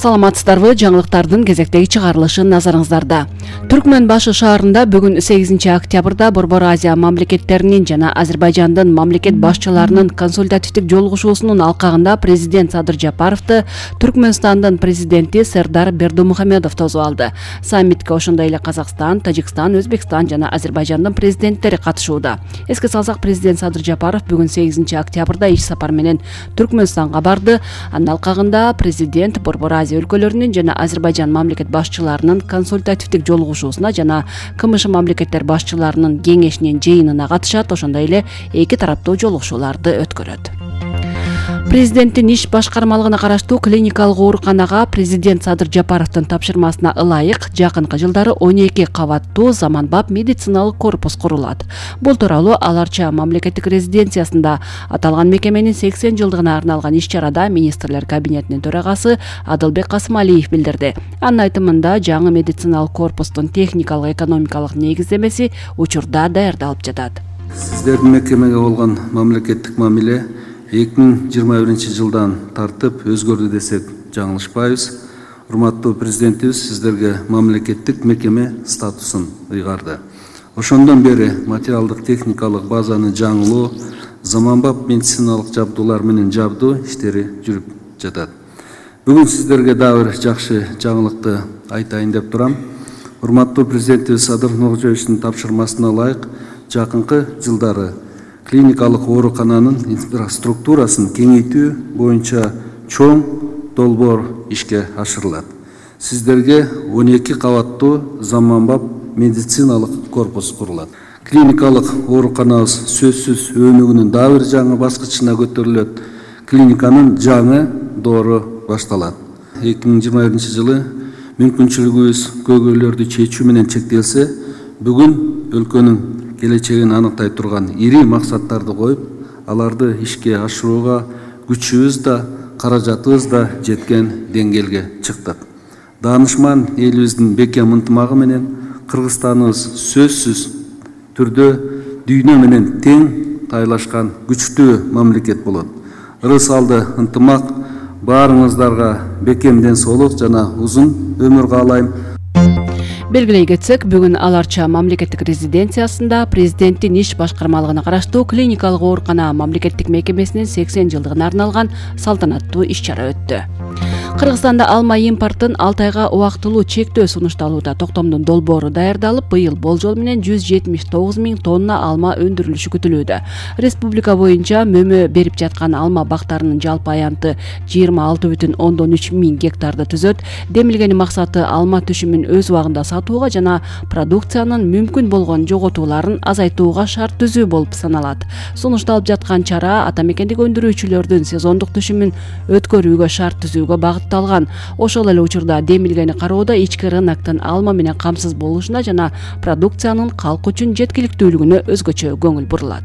Саламатсыздарбы, жаңылыктардын кезектеги чыгарылышы назарыңыздарда. Түркмөн башы шаарында бүгүн 8 октябрда Борбор Азия мамлекеттеринин жана Азербайжандын мамлекет башчыларынын консультативдик жолугушуусунун алкагында президент Садыр Жапаровду Түркмөнстандын президенти Сердар Бердымухамедов тосуп алды. Саммитке ошондой эле Казакстан, Тажикстан, Өзбекстан жана Азербайжандын президенттери катышууда. Эске салсак, президент Садыр Жапаров бүгүн 8 октябрда иш сапар менен Түркмөнстанга барды. Анын алкагында президент Борбор Азия өлкөлөрүнүн жана Азербайжан мамлекет башчыларынын консультативдик жолугушуусуна жана КМШ мамлекеттер башчыларынын кеңешинин жыйынына катышат, ошондой эле эки тараптуу жолугушууларды өткөрөт. Президенттин иш башкармалыгына караштуу клиникалык ооруканага президент Садыр Жапаровдун тапшырмасына ылайык жакынкы жылдары 12 кабаттуу заманбап медициналык корпус курулат. Бул тууралуу Аларча мамлекеттик резиденциясында аталган мекеменин 80 жылдыгына арналган иш-чарада министрлер кабинетинин төрагасы Адылбек Касымалиев билдирди. Анын айтымында жаңы медициналык корпустун техникалык экономикалык негиздемеси учурда даярдалып жатат. Сиздердин мекемеге болгон мамлекеттик мамиле 2021 жылдан тартып өзгөрдү десек жаңылышпайбыз. Урматтуу президентибиз сиздерге мамлекеттик мекеме статусун ыйгарды. Ошондон бери материалдык техникалык базаны жаңылоо, заманбап медициналык жабдуулар менен жабдуу иштери жүрүп жатат. Бүгүн сиздерге дагы бир жакшы жаңылыкты айтайын деп турам. Урматтуу президентибиз Садыр Нуркожоевичтин тапшырмасына ылайык жакынкы жылдары клиникалык оорукананын инфраструктурасын кеңейтүү боюнча чоң долбоор ишке ашырылат. Сиздерге 12 кабаттуу заманбап медициналык корпус курулат. Клиникалык ооруканабыз сөзсүз өнүгүүнүн дагы бир жаңы баскычына көтөрүлөт. Клиниканын жаңы доору башталат. 2021 жылы мүмкүнчүлүгүбүз көйгөйлөрдү чечүү менен чектелсе, бүгүн өлкөнүн келечегин аныктай турган ири максаттарды коюп, аларды ишке ашырууга күчүбүз да, каражатыбыз да жеткен деңгээлге чыктык. Даанышман элибиздин бекем ынтымагы менен Кыргызстаныбыз сөзсүз түрдө дүйнө менен тең тайлашкан күчтүү мамлекет болот. Ырыс алды ынтымак баарыңыздарга бекем ден соолук жана узун өмүр каалайм. Белгилей кетсек, бүгүн Аларча мамлекеттик резиденциясында президенттин иш башкармалыгына караштуу клиникалык оорукана мамлекеттик мекемесинин 80 жылдыгына арналган салтанаттуу иш-чара өттү. Кыргызстанда алма импортун 6 айга убактылуу чектөө сунушталууда. Токтомдун долбоору даярдалып, быйыл болжол менен 179 000 тонна алма өндүрүлүшү күтүлүүдө. Республика боюнча мөмө берип жаткан алма бактарынын жалпы аянты 26,3 миң гектарды түзөт. Демилгени максаты алма түшүмүн өз убагында сатууга жана продукциянын мүмкүн болгон жоготууларын азайтууга шарт түзүү болуп саналат. Сунушталып жаткан чара ата мекендик өндүрүүчүлөрдүн сезондук түшүмүн өткөрүүгө шарт түзүүгө багытталган. Ошол эле учурда демилгени кароодо ички рыноктун алма менен камсыз болушуна жана продукциянын калк үчүн жеткиликтүүлүгүнө өзгөчө көңүл бурулат.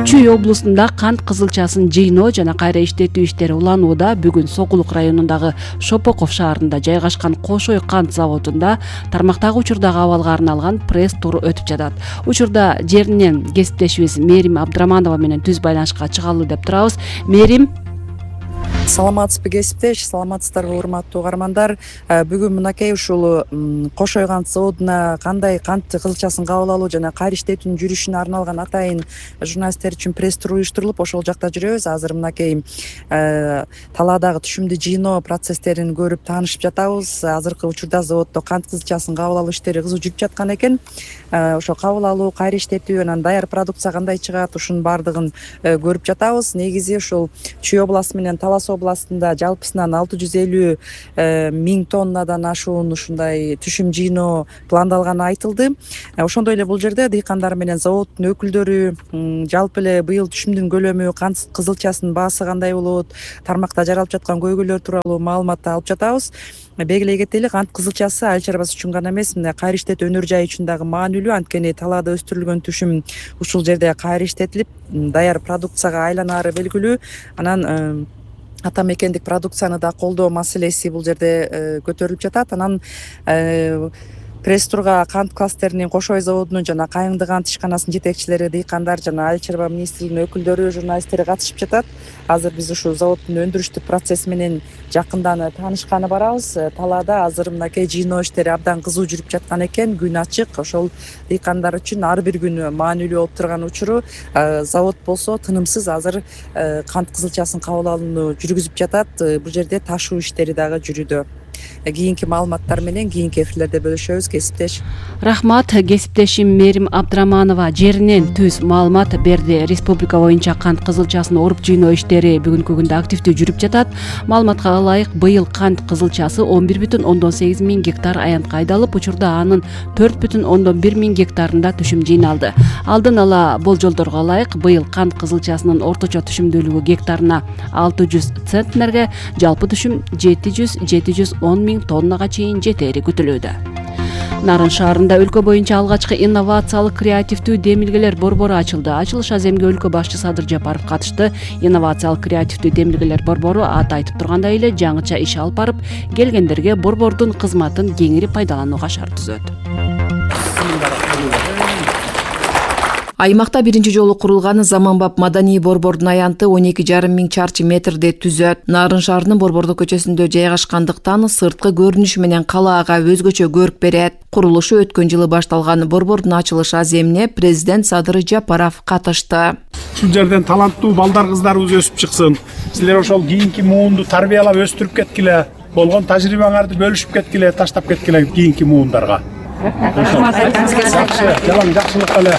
Чүй облусунда кант кызылчасын жыйноо жана кайра иштетүү иштери уланууда. Бүгүн Сокулук районундагы Шопоков шаарында жайгашкан Кошой кант заводунда тармактагы учурдагы абалга арналган пресс-тур өтүп жатат. Учурда жеринен кесиптешибиз Мерим Абдраманова менен түз байланышка чыгалуу деп турабыз. Мерим, саламатсызбы кесиптеш, саламатсыздарбы урматтуу угармандар. Бүгүн мынакей ушул Кошой кант заводуна кандай кант кызылчасын кабыл алуу жана кайра иштетүүнүн жүрүшүнө арналган атайын журналисттер үчүн пресс-тур уюштурулуп, ошол жакта жүрөбүз. Азыр мынакей талаадагы түшүмдү жыйноо процесстерин көрүп таанышып жатабыз. Азыркы учурда заводдо кант кызылчасын кабыл алуу иштери кызуу жүрүп жаткан экен. Ошо кабыл алуу, кайра иштетүү, анан даяр продукция кандай чыгат, ушунун баардыгын көрүп жатабыз. Негизи ушул Чүй областы менен Талас областында жалпысынан 650 000 тоннадан ашуун ушундай түшүм жыйноо пландалганы айтылды. Ошондой эле бул жерде дыйкандар менен заводдун өкүлдөрү жалпы эле быйыл түшүмдүн көлөмү, кант кызылчасынын баасы кандай болот, тармакта жаралып жаткан көйгөйлөр тууралуу маалыматты алып жатабыз. Белгилей кетели, кант кызылчасы айыл чарбасы үчүн гана эмес, кайра иштетүү өнөр жайы үчүн дагы маанилүү. Анткени талаада өстүрүлгөн түшүм ушул жерде кайра иштетилип, даяр продукцияга айланаары белгилүү. Анан ата мекендик продукцияны да колдоо маселеси бул жерде көтөрүлүп жатат. Анан Пресс-турга кант кластеринин Кош Ой заводунун жана Кайыңды кант ишканасынын жетекчилери, дыйкандар жана Айыл чарба министрлигинин өкүлдөрү, журналисттери катышып жатат. Азыр биз ушул заводдун өндүрүштүк процесси менен жакындан таанышканы барабыз. Талаада азыр мынакей жыйноо иштери абдан кызуу жүрүп жаткан экен. Күн ачык. Ошол дыйкандар үчүн ар бир күн маанилүү болуп турган учуру. Завод болсо тынымсыз азыр кант кызылчасын кабыл алууну жүргүзүп жатат. Бул жерде ташуу иштери дагы жүрүүдө. Кийинки маалыматтар менен кийинки эфирлерде бөлүшөбүз. Кесиптеш. Рахмат. Кесиптешим Мерим Абдраманова жеринен түз маалымат берди. Республика боюнча кант кызылчасын оруп жыйноо иштери бүгүнкү күндө активдүү жүрүп жатат. Маалыматка ылайык, быйыл кант кызылчасы 11,8 миң гектар аянтка айдалып, учурда анын 4,1 миң гектарында түшүм жыйналды. Алдын ала болжолдорго ылайык, быйыл кант кызылчасынын орточо түшүмдүүлүгү гектарына 600 центнерге, жалпы түшүм 710 миң тоннага чейин жетери күтүлүүдө. Нарын шаарында өлкө боюнча алгачкы инновациялык креативдүү демилгелер борбору ачылды. Ачылыш аземге өлкө башчы Садыр Жапаров катышты. Инновациялык креативдүү демилгелер борбору аты айтып тургандай эле жаңыча иш алып барып, келгендерге борбордун кызматын кеңири пайдаланууга шарт түзөт. Аймакта биринчи жолу курулган заманбап маданий борбордун аянты 12,5 миң чарчы метрди түзөт. Нарын шаарынын Борбордук көчөсүндө жайгашкандыктан сырткы көрүнүшү менен калаага өзгөчө көрк берет. Курулушу өткөн жылы башталган борбордун ачылыш аземине президент Садыр Жапаров катышты. Ушул жерден таланттуу балдар кыздарыбыз өсүп чыксын. Силер ошол кийинки муунду тарбиялап өстүрүп кеткиле. Болгон тажрыйбаңарды бөлүшүп кеткиле, таштап кеткиле кийинки муундарга. Жакшылык эле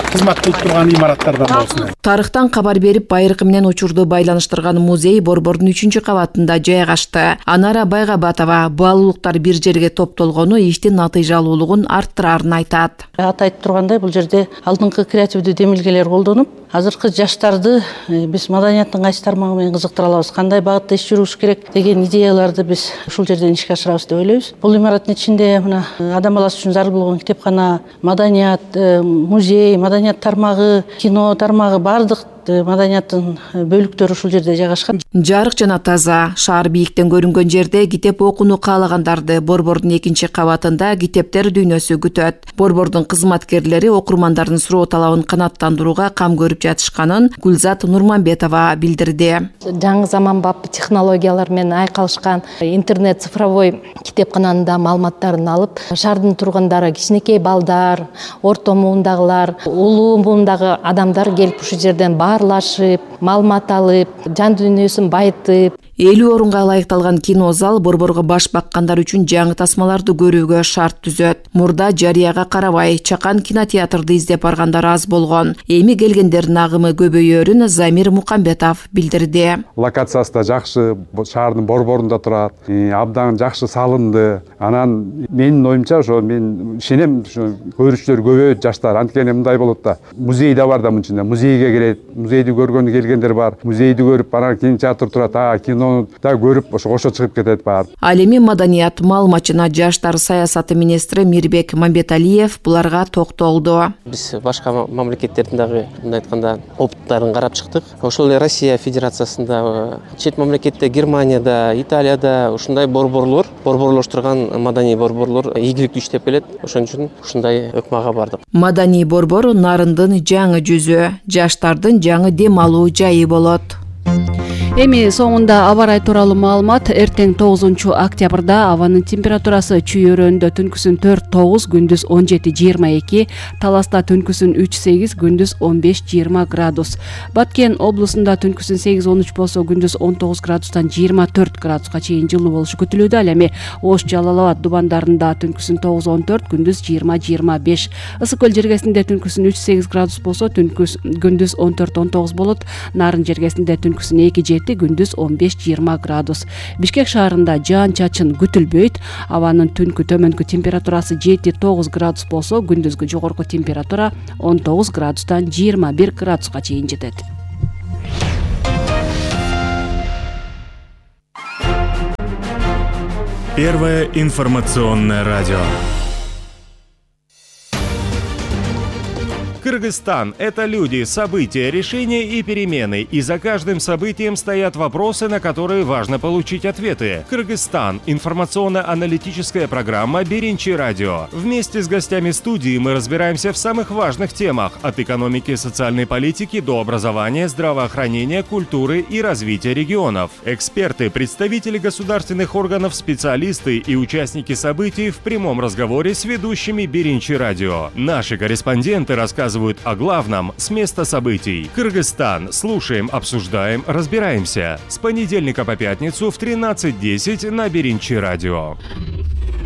кызмат кылып турган имараттардан болсун. Тарыхтан кабар берип, байыркы менен учурду байланыштырган музей борбордун 3-кабатында жайгашты. Анара Байгабатова баалуулуктар бир жерге топтолгону иштин натыйжалуулугун арттырарын айтат. Айтып тургандай, бул жерде алдыңкы креативдүү демилгелер колдонуп, азыркы жаштарды биз маданияттын кайсы тармагы менен кызыктыра алабыз, кандай багытта иш жүрүш керек деген идеяларды биз ушул жерден ишке ашырабыз деп ойлойбуз. Бул имараттын ичинде мына адам баласы үчүн зарыл болгон китепкана, маданият, музей, маданият тармагы, кино тармагы, бардык маданияттын бөлүктөрү ушул жерде жайгашкан. Жарык жана таза, шаар бийиктен көрүнгөн жерде китеп окууну каалагандарды борбордун 2-кабатында китептер дүйнөсү күтөт. Борбордун кызматкерлери окурмандардын суроо талабын канааттандырууга кам көрүп жатышканын Гүлзат Нурманбетова билдирди. Жаңы заманбап технологиялар менен айкалышкан интернет цифровой китепкананын да маалыматтарын алып, шаардын тургундары, кичинекей балдар, орто муундагылар, улуу муундагы адамдар келип ушул жерден баарлашып, маалымат алып, жан дүйнөсүн байытып. 50 орунга ылайыкталган кино зал борборго баш баккандар үчүн жаңы тасмаларды көрүүгө шарт түзөт. Мурда жарыяга карабай, чакан кинотеатрды издеп баргандар аз болгон. Эми келгендердин агымы көбөйөрүн Замир Мукамбетов билдирди. Локациясы да жакшы, шаардын борборунда турат, абдан жакшы салынды. Анан менин оюмча ошо мен ишенем, ошо көрүүчүлөр көбөйөт, жаштар. Анткени мындай болот да. Музей да бар да мынын ичинде. Музейге келет, музейди көргөнү келгендер бар. Музейди көрүп, анан кинотеатр турат, кино да көрүп ошо чыгып кетет бар. Ал эми маданият маалымат жана жаштар саясаты министри Мирбек Мамбеталиев буларга токтолду. Биз башка мамлекеттердин дагы мындай айтканда опыттарын карап чыктык. Ошол эле Россия Федерациясында, чет мамлекетте, Германияда, Италияда ушундай борборлоштурган маданий борборлор ийгиликтүү иштеп келет. Ошон үчүн ушундай өкмага бардык. Маданий борбор нарындын жаңы жүзү, жаштардын жаңы дем алуу жайы болот. Эми соңунда аба ырайы тууралуу маалымат. Эртең 9 октябрда абанын температурасы Чүй өрөөнүндө түнкүсүн 4-9, күндүз 17-22, Таласта түнкүсүн 3-8, күндүз 15-20 градус. Баткен облусунда түнкүсүн 8-13 болсо, күндүз 19 градустан 24 градуска чейин жылуу болушу күтүлүүдө. Ал эми Ош, Жалал Абад дубандарында түнкүсүн 9-14, күндүз 20-25. Ысык көл жергесинде түнкүсүн 3-8 градус болсо, күндүз 14-19 болот. Нарын жергесинде түнкүсүн 2-7, күндүз 15-20 градус. Бишкек шаарында жаан-чачын күтүлбөйт. Абанын түнкү төмөнкү температурасы 7-9 градус болсо, күндүзгү жогорку температура 19 градустан 21 градуска чейин жетет. Первое информационное радио. Кыргызстан – это люди, события, решения и перемены. И за каждым событием стоят вопросы, на которые важно получить ответы. Кыргызстан – информационно-аналитическая программа «Беринчи радио». Вместе с гостями студии мы разбираемся в самых важных темах – от экономики и социальной политики до образования, здравоохранения, культуры и развития регионов. Эксперты, представители государственных органов, специалисты и участники событий в прямом разговоре с ведущими Беринчи радио. Наши корреспонденты рассказывают о главном с места событий. Кыргызстан. Слушаем, обсуждаем, разбираемся. С понедельника по пятницу в 13:10 на Беринчи радио.